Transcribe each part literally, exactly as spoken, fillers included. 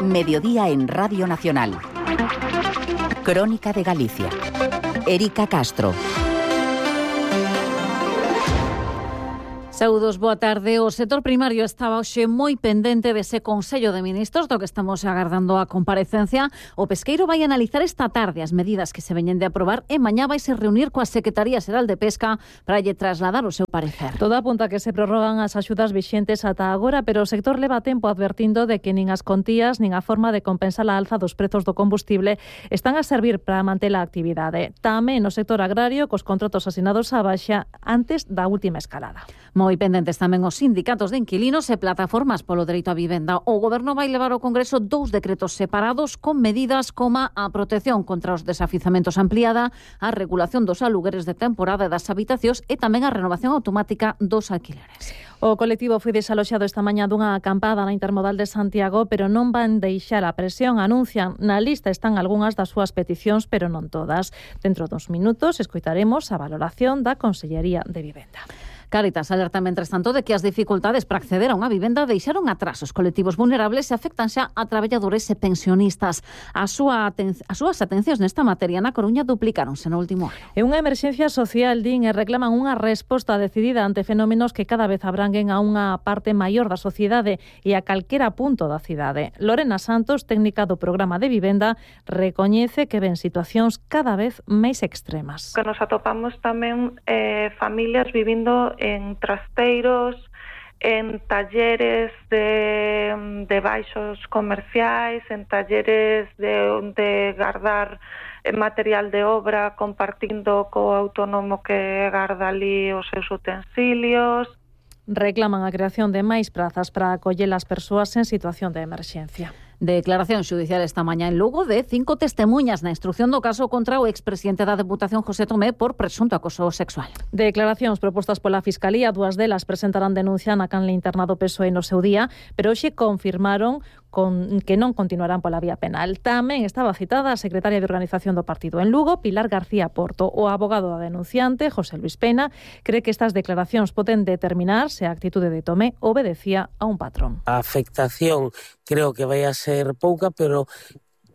Mediodía en Radio Nacional. Crónica de Galicia. Erika Castro. Saúdos, boa tarde. O sector primario estaba hoxe moi pendente dese Consello de Ministros do que estamos agardando a comparecencia. O pesqueiro vai analizar esta tarde as medidas que se veñen de aprobar e mañá vai se reunir coa Secretaría Xeral de Pesca para lle trasladar o seu parecer. Todo apunta que se prorrogan as axudas vixentes ata agora, pero o sector leva tempo advertindo de que nin as contías nin a forma de compensar a alza dos prezos do combustible están a servir para manter a actividade. Tamén no sector agrario, cos contratos asinados á baixa antes da última escalada. Moi pendentes tamén os sindicatos de inquilinos e plataformas polo dereito á vivenda. O Goberno vai levar ao Congreso dous decretos separados con medidas como a protección contra os desafizamentos ampliada, a regulación dos alugueres de temporada e das habitacións e tamén a renovación automática dos alquileres. O colectivo foi desaloxado esta mañá dunha acampada na Intermodal de Santiago, pero non van deixar a presión. Anuncian na lista están algunhas das súas peticións, pero non todas. Dentro dos minutos escoitaremos a valoración da Consellería de Vivenda. Cáritas alerta, mentres tanto, de que as dificultades para acceder a unha vivenda deixaron atrás os colectivos vulnerables e afectan xa a traballadores e pensionistas. A súa aten- as súas atencións nesta materia na Coruña duplicáronse no último ano. É unha emerxencia social, din, e reclaman unha resposta decidida ante fenómenos que cada vez abranguen a unha parte maior da sociedade e a calquera punto da cidade. Lorena Santos, técnica do programa de vivenda, recoñece que ven situacións cada vez máis extremas. Que nos atopamos tamén eh, familias vivindo en trasteiros, en talleres de, de baixos comerciais, en talleres de, de guardar material de obra compartindo co autónomo que garda ali os seus utensilios. Reclaman a creación de máis prazas para acoller as persoas en situación de emerxencia. Declaración xudicial esta mañá en Lugo de cinco testemunhas na instrucción do caso contra o expresidente da Deputación José Tomé por presunto acoso sexual. Declaracións propostas pola Fiscalía, dúas delas presentarán denuncia na canle interna do P S O E no seu día, pero hoxe confirmaron con que non continuarán pola vía penal. Tamén estaba citada a secretaria de Organización do Partido en Lugo, Pilar García Porto. O abogado da denunciante, José Luis Pena, cree que estas declaracións poden determinar se a actitude de Tomé obedecía a un patrón. A afectación creo que vai a ser pouca, pero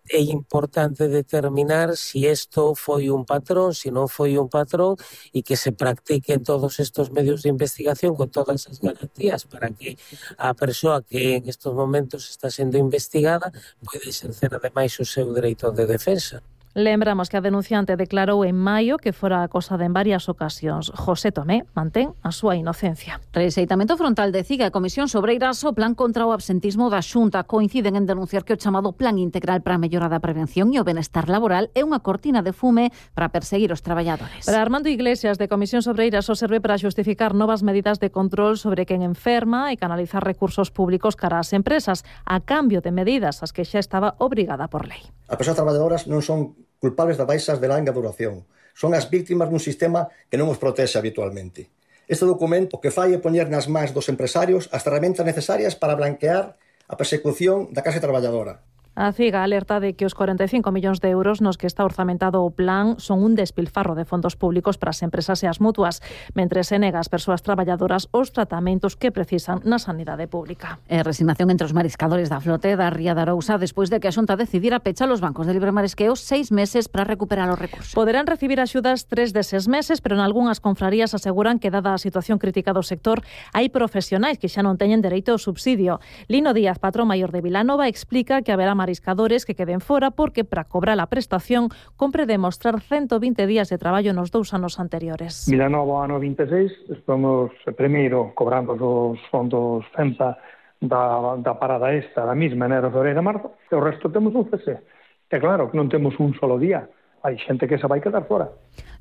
é importante determinar si isto foi un patrón, si non foi un patrón, e que se practiquen todos estos medios de investigación con todas as garantías para que a persoa que en estos momentos está sendo investigada pode exercer ademais o seu dereito de defensa. Lembramos que a denunciante declarou en maio que fora acosada en varias ocasións. José Tomé mantén a súa inocencia. Rexeitamento frontal de Ciga e Comisión Sobreiras o plan contra o absentismo da Xunta coinciden en denunciar que o chamado Plan Integral para a Mellora da Prevención e o Benestar Laboral é unha cortina de fume para perseguir os traballadores. Para Armando Iglesias, de Comisión Sobreiras, o serve para xustificar novas medidas de control sobre quen enferma e canalizar recursos públicos cara ás empresas, a cambio de medidas as que xa estaba obrigada por lei. As persoas traballadoras non son culpables das baixas de longa duración. Son as víctimas dun sistema que non os protexe habitualmente. Este documento o que fai é poñer nas mans dos empresarios as ferramentas necesarias para blanquear a persecución da clase traballadora. A Ciga alerta de que os cuarenta e cinco millóns de euros nos que está orzamentado o plan son un despilfarro de fondos públicos para as empresas e as mutuas, mentre se nega ás persoas traballadoras os tratamentos que precisan na sanidade pública. E resignación entre os mariscadores da flote da Ría de Arousa despois de que a Xunta decidira pechar os bancos de libre marisqueo seis meses para recuperar os recursos. Poderán recibir axudas tres deses meses, pero en algunhas confrarías aseguran que, dada a situación crítica do sector, hai profesionais que xa non teñen dereito ao subsidio. Lino Díaz, patrón maior de Vilanova, explica que haberá mariscadores que queden fora porque para cobrar a prestación compre demostrar ciento vinte días de traballo nos dous anos anteriores. Vilanova ano vinte e seis, estamos primeiro cobrando os fondos CEMPA da, da parada esta, da mesma, enero, febrero e marzo, e o resto temos un C S. E claro, que non temos un solo día. Hai xente que se vai quedar fora.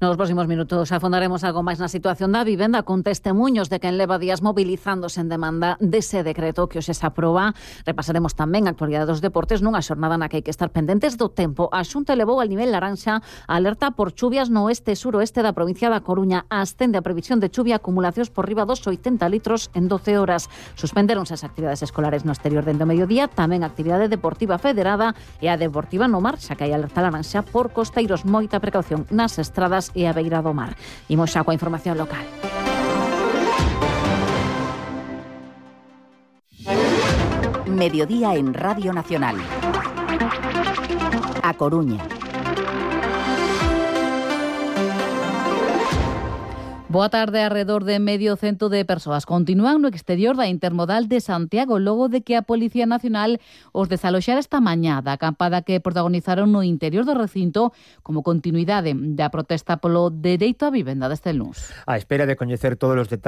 Nos próximos minutos afondaremos algo máis na situación da vivenda con testemunhos de quen leva días mobilizándose en demanda dese decreto que hoxe se aproba. Repasaremos tamén a actualidade dos deportes nunha xornada na que hai que estar pendentes do tempo. A Xunta elevou al nivel laranxa a alerta por chuvias no oeste e suroeste da provincia da Coruña. Ascende a previsión de chuvia, acumulacións por riba dos oitenta litros en doce horas. Suspenderonse as actividades escolares no exterior dende o mediodía, tamén a actividade deportiva federada e a deportiva no mar, xa que hai alerta laranxa por costeiros. Moita precaución nas estradas e a beira do mar. Imos xa coa información local. Mediodía en Radio Nacional. A Coruña. Boa tarde. Arredor de medio cento de persoas continúan no exterior da Intermodal de Santiago logo de que a Policía Nacional os desaloxara esta mañá da acampada que protagonizaron no interior do recinto como continuidade da protesta polo dereito á vivenda deste luns. A espera de coñecer todos os detalles